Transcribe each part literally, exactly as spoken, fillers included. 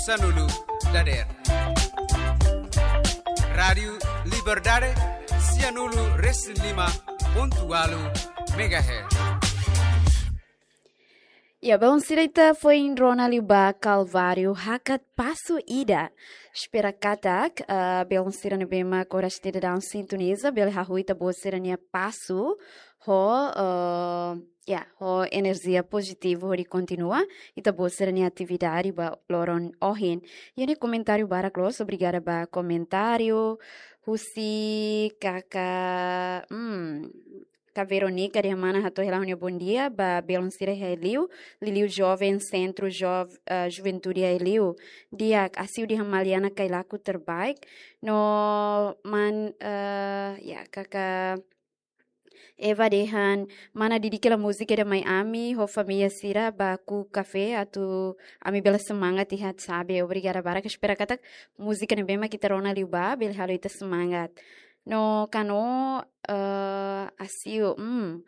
Sanulu dadeer. Rádiu Liberdade, sianulu resin lima pontu ualu megahertz. Ya, belun sira, ita foin rona liu ba Kalváriu hakat pasu ida. Espera katak, ah, belun sira ne'ebé mak oras ida daudaun sintoniza, bele hahú ita-boot sira-nia pasu ho, ah, ya, ho enerjia pozitivu hodi kontinua ita-boot sira-nia atividade ba loron ohin. Iha ne'e komentáriu barak loos, obrigada ba komentáriu. Husi kaka, hmm, Ka Veronica dehan mana hato'o hela ha'u-nia bondia ba belun sira iha Aileu, liuliu joven Sentru Jov-, eh, Juventude Aileu. Di'ak, Asiu dehan Maliana Kailaku terbaik. No man, eh, ya, kaka Eva dehan mana dedika hela múzika ida mai ami ho família sira ba ku'u kafé atu ami bele semangat iha Sabe. Obrigada barak, espera katak múzika ne'ebé mak ita rona liu ba bele halo ita semangat. No Kano, eh, Asiu, hmm.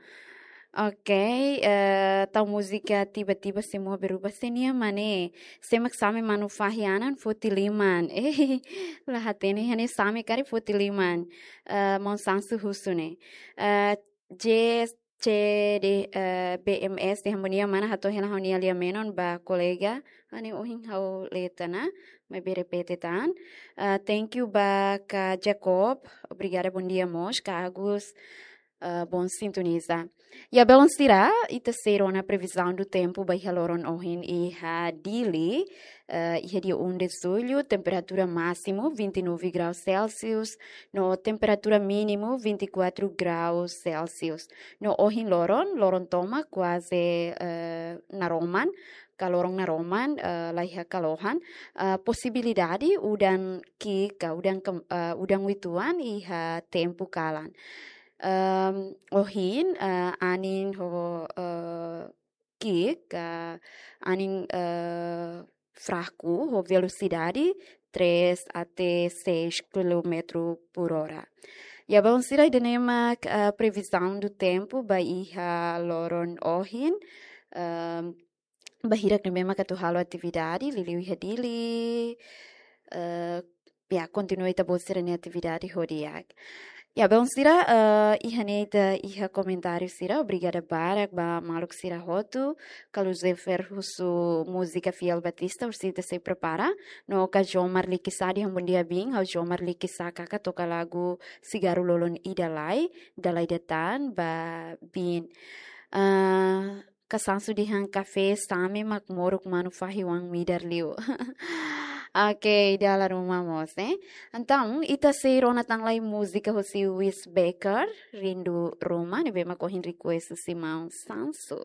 Oke, eh, tau múzika Tiba-Tiba Semua Berubah sei nia mane. Sé mak Same Manufahi Anan foti liman. Eh, la hatene hanesan Same karik foti liman. Eh, maun Sansu husu ne'e. Eh, J C D, eh, B M S dehan bondia mana hato'o hela ha'u-nia lia-menon ba kolega. Hanesan ohin ha'u lee tiha ona, maibé repete tan. Eh, thank you ba Ka Jacob. Obrigada, bondia mós, Ka Agus. Eh, bom sintoniza. Ya, belun sira, ita sei rona previsão do tempo ba iha loron ohin iha Dili, eh, iha dia um de julho, temperatura máximo vinte e nove graus Celsius, no temperatura mínimo vinte e quatro graus Celsius. No ohin loron, loron tomak kuaze, eh, naroman, ka loron naroman, eh, la iha kalohan, eh, posibilidade udan ki'ik ka udan kem-, eh, udan uitoan iha tempu kalan. Ehm, ohin, eh, anin ho, eh, ki'ik, eh, anin, eh, fraku ho velosidade três até seis quilômetro por hora. Ya, belun sira, ida-ne'e mak, eh, previsão do tempo ba iha loron ohin. Ehm, ba hirak ne'ebé mak atu halo atividade, liuliu iha Dili, eh, ya, kontinua ita-boot sira-nia atividade ho di'ak. Ya, belun sira, eh, iha ne'e ita iha komentáriu sira, obrigada barak ba maluk sira hotu, Carlos Zefer husu múzika Fiel Batista, husi ita sei prepara, no Ka Jomar Likisá dehan bondia bin, ha'u Jomar Likisá kaka toka lagu Sigarru Lolon Ida Lai, Dalai Datan, ba bin. Eh, Ka Sansu dehan kafé Same mak moruk manufahi oan midar liu. Oke, dala ruma mós, eh. Entaun, ita sei rona tan lai múzika husi Wes Becker, Rindu Ruma, ne'ebé mak ohin request husi maun Sansu.